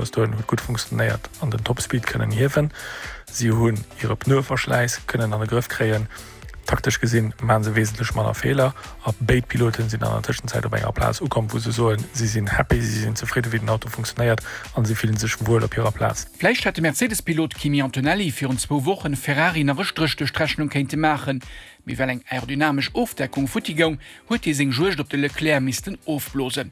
Bis dohin huet gutt funktionéiert an den Topspeed kënnen hiewen. Si hunn hire Pneueverschläiss kënnen an de Grëff kréien. Taktesch gesinn maache se wesentlech manner Feeler a béid Piloten sinn an der Tëschenzäit op enger Plaz ukomm, wou se soen, si sinn happy, si sinn zefridde wéi den Auto funktionéiert an si fillen sech wuel op hirer Plaz. Vläicht hätt de Mercedes-Pilot Kimi Antonelli virun zwou Wochen Ferrari nach e Stréch duerch d'Rechnung kéinte maachen, mee well eng aerodynamesch Ofdeckung futti goung, huet hie seng Juegd op de Leclerc missten ofblosen.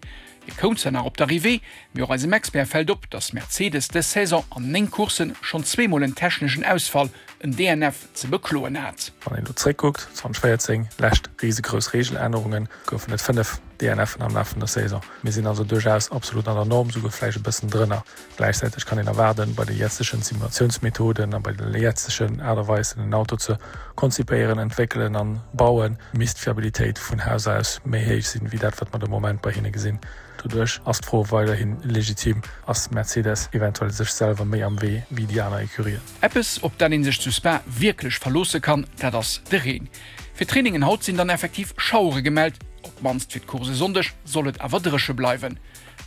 Hie koum zwar nach op d'Arrivée, mee och eisem Expert fält op, datt Mercedes dës Saison an 9 Coursse schonn zweemol en techneschen Ausfall, en DNF, ze bekloen hat. Wann een elo zréckkuckt, 2014, lescht risegrouss Reegelännerungen, goufen et 5 DNFen am Laf vun der Saison. Mir sinn also duerchaus absolut an der Norm, souguer vläicht e bëssen drënner. Gläichzäiteg kann een erwaarden, bei de jetzegen Simulatiounsmethoden a bei der jetzegen Aart a Weis, en Auto ze konzipéieren, entwéckelen an bauen, misst d'Fiabilitéit vun Haus aus méi héich sinn, wéi dat, wat mer de Moment bei hinne gesinn. Doduerch ass d'Fro weiderhi legitim, Ass Mercedes eventuell sech selwer méi am Wee wéi déi aner Ecurien? Eppes, op dat ee sech zu Spa wierklech verloosse kann, dat ass de Reen. Fir d'Trainingen haut sinn dann effektiv Schauere gemellt, op d'mannst fir d'Course e Sonndeg soll et awer dréche bleiwen.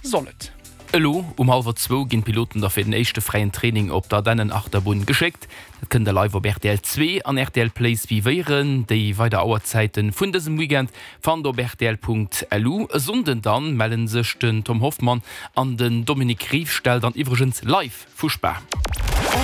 Soll et. Elo um hallwer zwou ginn d'Piloten da fir den éischte fräien Training op d'Ardennenachterbunn geschéckt. Dat kënnt der live op rtl 2 an rtl Play suivéieren. Déi weider Auerzäiten vun dësem Weekend fannt der op rtl.lu. E Sonnden dann mellen sech den Tom Hoffmann an den Dominique Riefstahl dann iwwregens live vu Spa.